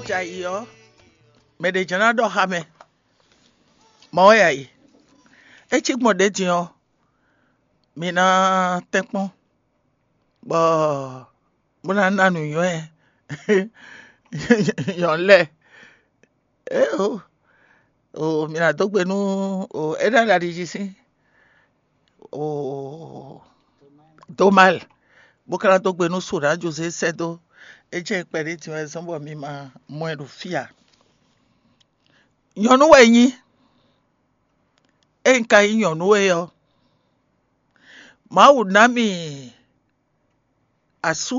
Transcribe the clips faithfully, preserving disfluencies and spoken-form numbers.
Jɛ ayǐ ɔ́, mɛ ɖě jɛ́n ná ɖɔ xá mɛ, mɔ̌ wɛ ayǐ. É cí gbɔn ɖě din ɔ́, mi ná tɛ́nkpɔ́n bɔ bó ná ná nǔnywɛ́ nyɔ̌nu lɛ́ɛ. Éeǒ, o mi ná dó gbe nú o é ná ɖo ali jí sín o Domal, bó ka ná dó gbe nú Sona Jozé sɛ́ dó. É jẹ́ kpɛɖé din wɛ zɔ́n bɔ mi ma mɔ ɛ ɖo fí ǎ. Nyɔ̌nu wɛ nyí, é un ka nyí nyɔ̌nu é ɔ́, Mawu ná mì asú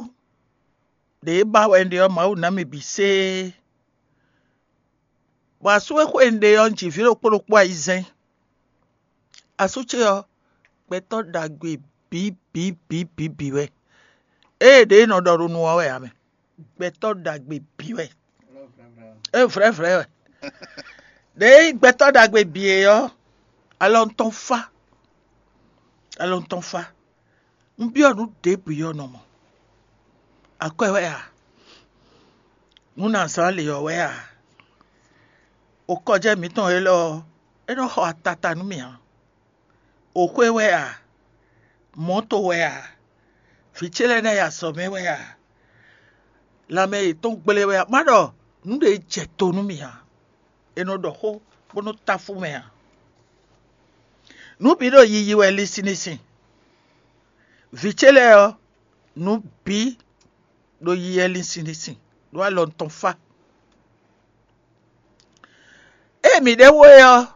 ɖě ba wɛ un ɖe ɔ́, Mawu ná mì bǐ séé. Bɔ asú e xwe un ɖe ɔ́, un ji vǐ ɖokpó ɖokpó ayizɛ́n. Asú ce ɔ́, gbɛtɔ́ ɖagbe bǐ bǐ bǐ bǐ bǐ wɛ. Ée ɖě e nɔ ɖɔ ɖo nu ɔ́ wɛ ǎ mɛ. Gbɛtɔ́ ɖagbe bǐ wɛ. É vlɛ̌vlɛ̌ wɛ. Ɖěe nyí gbɛtɔ́ ɖagbe bǐ é ɔ́, alɔ tɔn fá. Alɔ tɔn fá. Un byɔ́ nǔ ɖěbǔ ɔ́ nɔ mɔ. Akwɛ́ wɛ a? Nǔ nǎ zán lě ɔ́ wɛ a? Okɔjɛ́ mǐtɔn élɔ́ ɔ́, é nɔ xɔ atata nú mì ǎ. Oxwé wɛ a? Mɔ̌to wɛ a? Vǐ ce lɛ́ɛ ná yi azɔ̌ mɛ wɛ a? Lanmɛ yětɔn gblé wɛ a? Má ɖɔ nǔ ɖě jɛ to nú mì ǎ. È nɔ ɖɔ xó bó nɔ́ táfú mɛ ǎ. Nǔ bǐ ɖo yiyi wɛ linsin linsin. Vǐ ce lɛ́ɛ ɔ́, nǔ bǐ ɖo yiyi wɛ linsin linsin ɖó alɔ tɔn fá. Ée mǐ ɖe wú é ɔ́,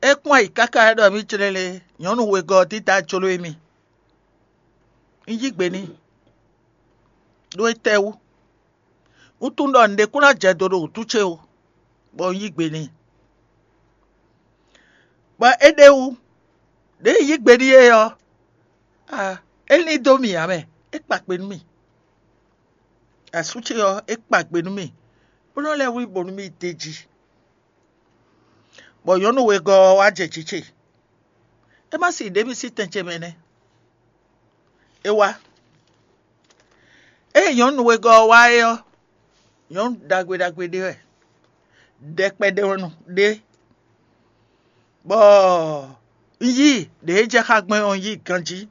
é kpɔ́n ayǐ káká é ɖɔ mì clélé, nyɔ̌nu wegɔ́ ɔ́ dídá jló émí. Un yí gbe n'i ɖó étɛ́ wú? Un tunwun ɖɔ nǔɖé kún ná jɛ do ɖo wǔtu ce ó, bɔ un yí gbe n'i. Bɔ é ɖe wú, ɖěe un yí gbe n'i é ɔ́, a é lín dó mì ǎ mɛ, é kpa kpe nú mì. Asú ce ɔ́, é kpa gbe nú mì, bó nɔ́ lɛ́ wlí bo nú mì d'é jí. Bɔ nyɔ̌nu wegɔ́ ɔ́ wá jɛ jǐ ce. É má si ɖě mì sín tɛn ce mɛ nɛ́. É wá. Ée nyɔ̌nu wegɔ́ ɔ́ wá é ɔ́, nyɔ̌nu ɖagbe ɖagbe ɖé wɛ, ɖɛkpɛ ɖé wɛ nɔ ɖé, bɔ un yí ɖě e jɛ xá gbɛn ɔ́, un yí ganjí,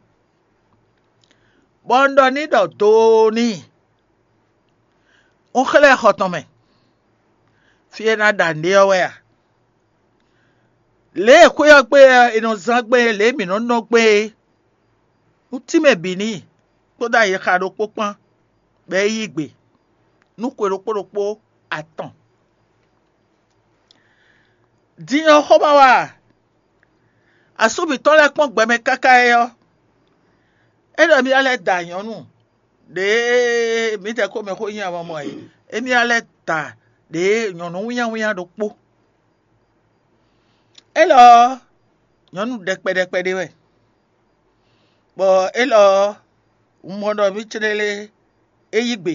bɔ un ɖɔ n'i ɖɔ doo n'i. Un xlɛ́ xɔ tɔn mɛ, fí e ná ɖa nǔɖé ɔ́ wɛ a? Lě e xwé ɔ́ gbe ɔ́, è nɔ zán gbɛn é, lě e mǐ nɔ́ nɔ gbɛn é, un tínmɛ bǐ n'i, kpódó ayixa ɖokpó kpán, bɔ é yí gbe nú xwe ɖokpó ɖokpó atɔn. Din ɔ́, xó ma wa a? Asú mǐtɔn lɛ́ɛ kpɔ́n gbɛ mɛ káká é ɔ́, é ɖɔ émí ná lɛ́ da nyɔ̌nu ɖě mǐdɛɛ ko mɛ xó nyi amamɔ e, émí ná lɛ́ da ɖě nyɔ̌nu wínnyáwínnyá ɖokpó. Élɔ́ ɔ́, nyɔ̌nu ɖɛkpɛ ɖɛkpɛ ɖé wɛ, bɔ élɔ́ ɔ́, un mɔ ɖɔ mǐ clélé é yí gbe,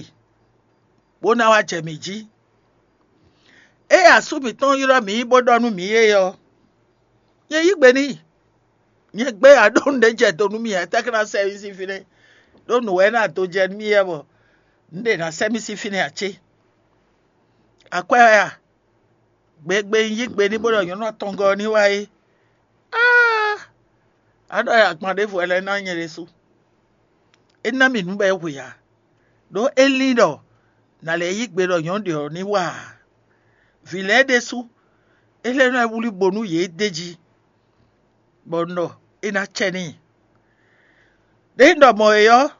bó ná wá jɛ mǐ jí. Ée asú mǐtɔn ylɔ́ mǐ bó ɖɔ nú mǐ é ɔ́, nyɛ yí gbe n'i. Nyɛ gbé aɖónú ɖé jɛ do nú mì ǎ, étɛ́ ka ná sɛ́ mì sín fínɛ́? Ɖó nǔ wɛ ná do jɛ nú mì wɛ bɔ un ɖe ná sɛ́ mì sín fínɛ́ ǎ cé? Akwɛ́ wɛ a? Gbegbe un yí gbe n'i bó ɖɔ nyɔ̌nu atɔngɔ́ ɔ́ ní wá é. Áá! A ɖɔ agban ɖěvo wɛ lɛ́ɛ ná nyɛ ɖésú. É ná mì nǔ bɔ é hwe ǎ, ɖó é lín ɖɔ nǎ lɛ́ yí gbe ɖɔ nyɔ̌nu ɖě ɔ́ ní wa ǎ. Vǐ lɛ́ɛ ɖésú, é lɛ́ nɔ wlí bo nú yě d'é jí, bɔ un ɖɔ é ná cɛ n'i. Ɖěe un ɖɔ mɔ̌ é ɔ́,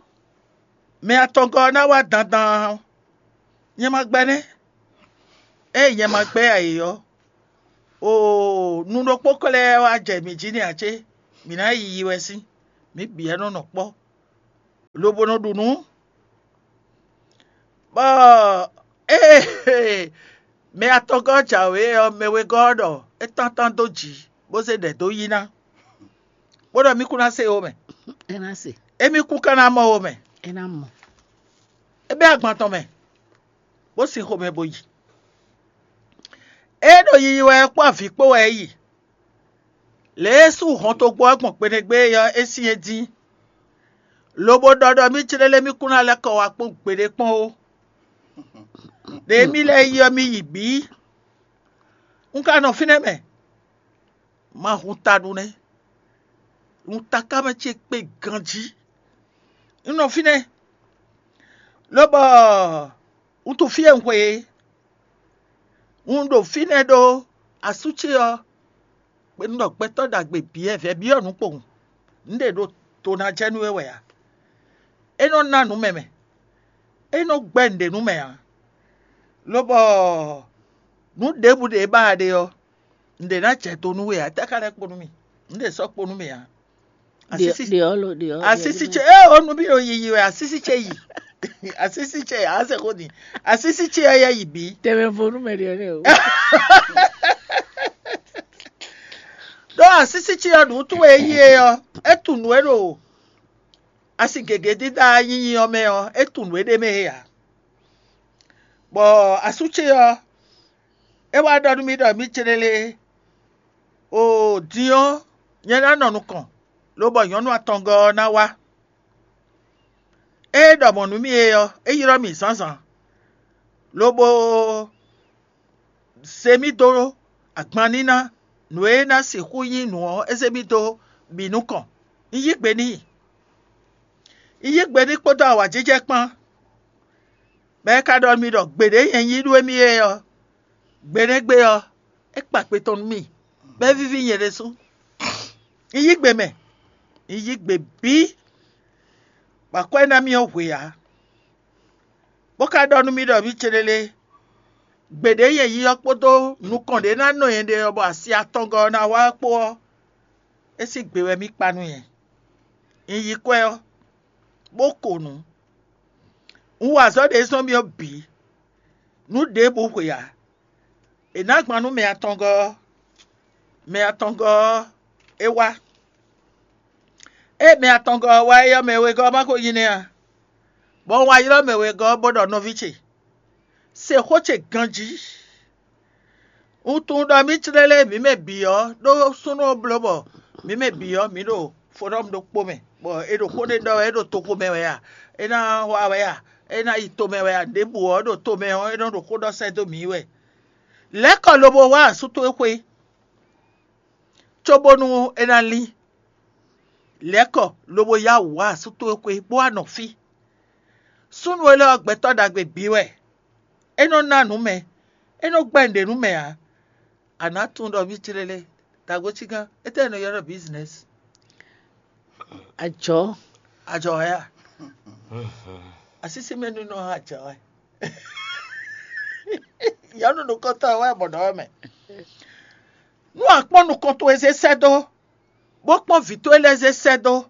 mɛ atɔngɔ́ ɔ́ ná wá dandan ɔ́, nyɛ ma gbɛ́ nɛ́. Ée nyɛ ma gbɛ́ ǎ é ɔ́, oo, nu ɖokpó ko lɛ́ɛ wá jɛ mǐ jí nɛ́ ǎ cé? Mǐ ná yi yi wɛ sín, mǐ bǐ wɛ nɔ nɔ kpɔ́, lobo nɔ ɖu nǔ. Bɔ ée mɛ atɔngɔ́ jǎwe ɔ́, mɛ wegɔ́ ɔ́ ɖɔ é tántán dó jǐ, bó zé ɖɛ dó yí ná, bó ɖɔ mí kún ná se ó mɛ. É ná se. Émí kún ka ná mɔ ó mɛ. É ná mɔ. É bɛ́ agban tɔn mɛ, bó sin xomɛ bo yi. É ɖo yiyi wɛ kpó avǐ kpó wɛ é yi. Lě e sú hɔntogbó ɔ́ gbɔn gbeɖégbé é ɔ́, é syɛ́n dín, lobo ɖɔ ɖɔ mí clélé mí kún ná lɛ́ kɔ wá kpɔ́n gbeɖé kpɔ́n ó. Ɖě mì lɛ́ yi ɔ́, mi yi bǐ. Un ka nɔ fínɛ́ mɛ. Ma hun ta ɖu nɛ́. Un taká mɛ ce kpe ganjí. Un nɔ fínɛ́, lobɔ un tunwun fí e un xwe é. Un ɖo fínɛ́ ɖó asú ce ɔ́, un ɖɔ gbɛtɔ́ ɖagbe bǐ wɛ, vɛ̌ byɔ́ nǔ kpowun. Un ɖe ɖo to ná jɛ nú we wɛ ǎ. É nɔ ná nǔ mɛ mɛ. É nɔ gbɛ́ nǔɖé nú mɛ ǎ. Lobɔ nǔ ɖěbǔ ɖě e ba a ɖe ɔ́, un ɖě ná jɛ do nú we ǎ. Tɛ́ ka lɛ́ kpo nú mì? Un ɖě sɔ́ kpo nú mì ǎ. Asísí, Ɖe ɔ́ lo ɖe ɔ́. Asísí ce, ée o nú mì ɖo yiyi wɛ, asísí ce yi. Asísí ce, a se xó din. Asísí ce ɔ́ yɛ yi bǐ. Tɛmɛ vo nú mɛ ɖe ɔ́ nɛ o. Ɖó asísí ce ɔ́, nǔ tún e yí e ɔ́, é tunwun nǔ e ɖo asi gěgé dídá nyinyi ɔ́ mɛ ɔ́, é tunwun nǔ e ɖ'é mɛ é ǎ. Bɔ asú ce ɔ́, é wá ɖɔ nú mì ɖɔ mǐ céɖélé, o din ɔ́, nyɛ ná nɔ nukɔn, lobɔ nyɔ̌nu atɔngɔ́ ɔ́ ná wá. Ée é ɖɔ mɔ̌ nú mì é ɔ́, é ylɔ́ mì zǎnzǎn, lobo zé mì dó agban níná, nǔ e ná sixú nyí nǔ ɔ́, é zé mì dó bǐ nukɔn. Un yí gbe n'i. Un yí gbe n'i kpódó awǎjijɛ kpán. Bɔ é ka ɖɔ nú mì ɖɔ gbeɖé nyɛ nyí ɖú émí é ɔ́, gbe énɛ́ gbe ɔ́, é kpa kpe tɔn nú mì, bɔ é víví nyɛ ɖésú. Un yí gbe mɛ, un yí gbe bǐ, bɔ akwɛ́ ná mì ɔ́ hwe ǎ. Bó ka ɖɔ nú mì ɖɔ mǐ céɖélé, gbeɖé nyɛ yi ɔ́ kpódó nukɔn ɖě ná nɔ nyɛ ɖe ɔ́, bɔ asi atɔngɔ́ ɔ́ ná wá kpó ɔ́, é sín gbe wɛ mì kpa nú nyɛ. Un yi kwɛ́ ɔ́, bó ko nǔ. Un wa azɔ̌ ɖě zɔ́n mì ɔ́ bǐ. Nǔ ɖěbǔ hwe ǎ. È nǎ gban nú mɛ atɔngɔ́ ɔ́, mɛ atɔngɔ́ ɔ́ é wá. Ée mɛ atɔngɔ́ ɔ́ wá é ɔ́, mɛ wegɔ́ ɔ́ ma ko nyi nɛ́ a? Bɔ un wá ylɔ́ mɛ wegɔ́ ɔ́ bó ɖɔ nɔví ce, se xó ce ganjí. Un tunwun ɖɔ mǐ clélé mǐ mɛ bǐ ɔ́ ɖó súnnu ɔ́ bló bɔ mǐ mɛ bǐ ɔ́ mǐ ɖo fodɔ́mu ɖokpó mɛ, bɔ è ɖo xó ɖé ɖɔ wɛ, é ɖo toxo mɛ wɛ a? É ná wá wɛ a? É ná yi tomɛ wɛ a? Ɖěbǔ ɔ́ ɖo tomɛ ɔ́, é nɔ ɖo xó ɖɔ sɛ́ dó mǐ wɛ. Lɛ̌ kɔ lobo wá asú towe xwé, cóbónú é ná lín. Lɛ̌ kɔ lobo yá wǔ wá asú towe xwé, bó wá nɔ fí. Súnnu élɔ́ ɔ́, gbɛtɔ́ ɖagbe bǐ wɛ. É nɔ ná nǔ mɛ, é nɔ gbɛ́ nǔɖé nú mɛ ǎ. A nǎ tunwun ɖɔ mǐ clélé, dǎgotígán, étɛ́ è nɔ ylɔ́ ɖɔ business? Ajɔ̌. Ajɔ wɛ a? Asísí mɛ nínú ɔ́ ajɔ wɛ. Nyɔ̌nu nukɔntɔn wɛ mɔ ɖɔ wɛ mɛ. Nú a kpɔ́n nukɔn towe zé sɛ́ dó, bó kpɔ́n vǐ towe lɛ́ɛ zé sɛ́ dó,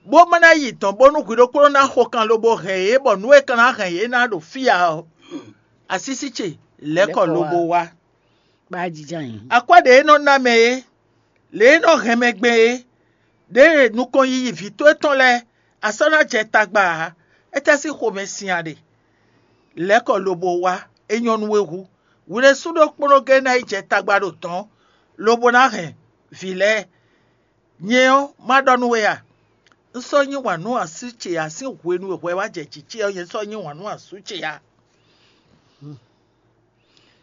bó ma ná yi dɔ̌n bónú hwi ɖokpónɔ ná xo kan lobo hɛn yě, bɔ nǔ e kan ná hɛn yě ná ɖo fí ǎ ɔ́, asísí ce lɛ̌ kɔ lobo wá. Bá jija yín. Akwɛ́ ɖě é nɔ ná mɛ é, lě e é nɔ hɛn mɛ gbɛn é, ɖěe nukɔn yiyi vǐ towe tɔn lɛ́ɛ, a sɔ́ ná jɛ tagba ǎ. Étɛ́ sín xomɛ sin a ɖe? Lɛ̌ kɔ lobo wá, é nyɔ́ nú we hú. Hwi ɖésú ɖokpónɔ géé ná yi jɛ tagba ɖo dɔ̌n, lobo ná hɛn vǐ lɛ́ɛ. Nyɛ ɔ́, má ɖɔ nú we a? Un sɔ́ yí wǎn nú asú ce ǎ, sín hwenu e hwɛ wá jɛ jǐ ce ɔ́, nyɛ sɔ́ yí wǎn nú asú ce ǎ.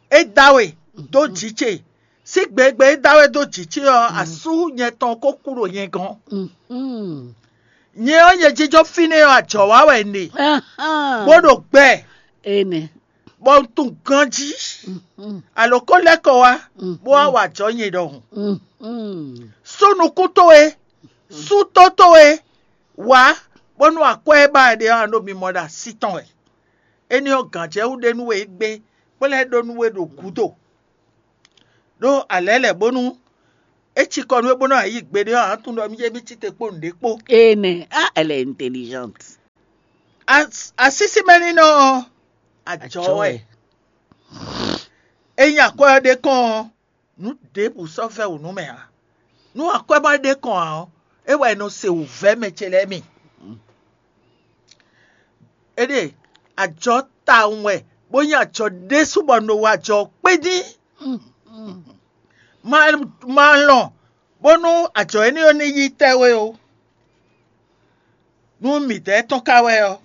É dá we dó jǐ ce. Sín gbegbe é dá we dó jǐ ce ɔ́, asú nyɛ tɔn ko kú ɖo nyɛ gɔ́n. Nyɛ ɔ́, nyɛ jínjɔ́n fínɛ́ ɔ́, ajɔ̌ wa wɛ un ɖe, bó ɖo gbɛ, Ene. Bɔ un tunwun ganjí. Alǒ ko lɛ́ kɔ wá, bó wá wa ajɔ̌ nyɛ ɖɔhun. Sú nukún towe, sú tó towe, wǎ, bónú akwɛ́ e ba wɛ ɖe ɔ́, a ɖo mimɔ ɖo así tɔn wɛ. Énɛ́ ɔ́, gǎnjɛwú ɖé nú we égbé, bó lɛ́ ɖó nú we ɖo gǔdo. Ɖó a lɛ̌ lɛ̌ bónú é cikɔ nú we bónú a yí gbeɖé ɔ́, a nǎ tunwun ɖɔ mí jɛ mí cí te kpó nǔɖé kpó. Ene. Ah, elle est intelligente. Asísí mɛ ní nɔ ɔ́, ajɔ wɛ. Ényí akwɛ́ ɔ́ ɖe kɔn ɔ́, nǔ ɖěbǔ sɔ́ vɛ́ wǔ nú mɛ ǎ. Nú akwɛ́ ma ɖe kɔn ǎ ɔ́, é wɛ è nɔ se wǔvɛ́ mɛ ce lɛ́ɛ mi. Éɖée, ajɔ tawun wɛ, bó nyí ajɔ ɖésú bɔ un ɖo wa ajɔ kpédín. Ma ma lɔn bónú ajɔ énɛ́ ɔ́ ní yí tɛ́ we ó. Nú midɛɛ tɔn ka wɛ ɔ́,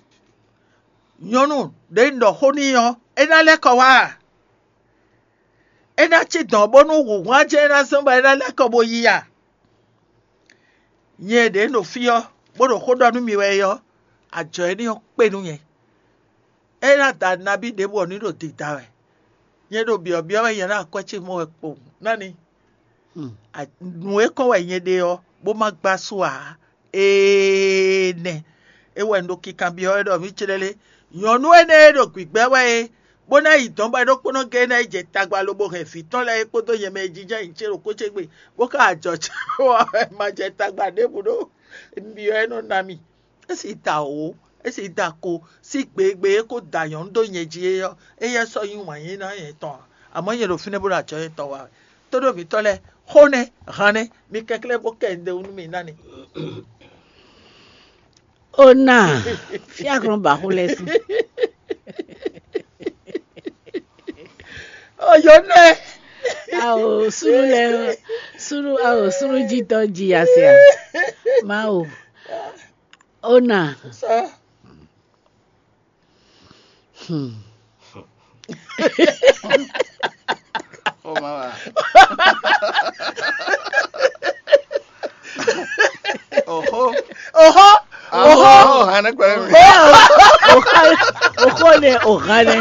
Nyɔ̌nu ɖě un ɖɔ xó n'i ɔ́, é ná lɛ́ kɔ wá a? É ná cí dɔ̌n bónú wǔhwán jɛ́n é ná zɔ́n bɔ é ná lɛ́ kɔ bó yi a? Nyɛ ɖě ɖo fí ɔ́, bó ɖo xó ɖɔ nú mi wɛ é ɔ́, ajɔ énɛ́ ɔ́ kpe nú nyɛ. É ná da nabí ɖěbǔ ɔ́ ní ɖo dida wɛ. Nyɛ ɖo byɔ̌byɔ́ wɛ nyɛ ná akwɛ́ ce mɔ wɛ kpowun ná ní. Nǔ e kɔn wɛ nyɛ ɖe ɔ́, bó má gbá su ǎ. Ee nɛ. É wɛ un ɖo kinkanbyɔ́ wɛ ɖɔ mǐ clɛ́ lé. Nyɔ̌nu énɛ́ e ɖo gbǐgbɛ́ wɛ é, bó ná yi dɔ̌n bɔ é ɖokpónɔ géé ná yi jɛ tagba lobo hɛn vǐ tɔn lɛ́ɛ é kpódó nyɛ mɛ e jínjɔ́n nyi ce ɖo kó ce gbe, bó ka ajɔ ce wɔ wɛ ma jɛ tagba ɖěbǔ ɖó. Un byɔ́ ɛ nɔ ná mì. É sì da wǒ, é sì da ko, sí gbegbe é kó da nyɔ̌nu dó nyɛ jí é ɔ́, éyɛ́ sɔ́ nyí wǎn yí ná nyɛ tɔn ǎ. Amɔ̌ nyɛ ɖo fínɛ́ bó ɖo ajɔ nyɛ tɔn wa wɛ. Tóɖó mǐtɔn lɛ́ɛ, xó nɛ́, han nɛ́, mi kɛnklɛ́n bó kɛ un ɖe wú nú mi ná ni. Ó ná, fíaklɔ́n ba xó lɛ́ɛ sí. Oyǒ nɛ́. Ao súnú lɛ́ɛ súnú ao súnú jítɔ́ ji ya se a? Mawu. Ó ná. Sá. Hmm. Ó má wá. Oho. Oho. Oho. Oho. Hana gbɛrɛ mi. Oxó nɛ oha nɛ.